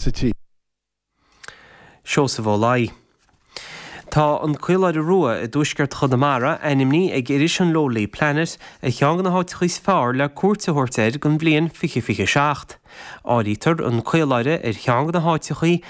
Sa tír. Seosamh Ó Laoi. Tá an Caoláire Rua i dtuaisceart Chonamara ainmnithe ag iris an Lonely Planet ar cheann de na háiteacha is fearr le cuairt a thabhairt air don bhliain 2027. Áirítear an Caoláire ar cheann de na háiteacha a.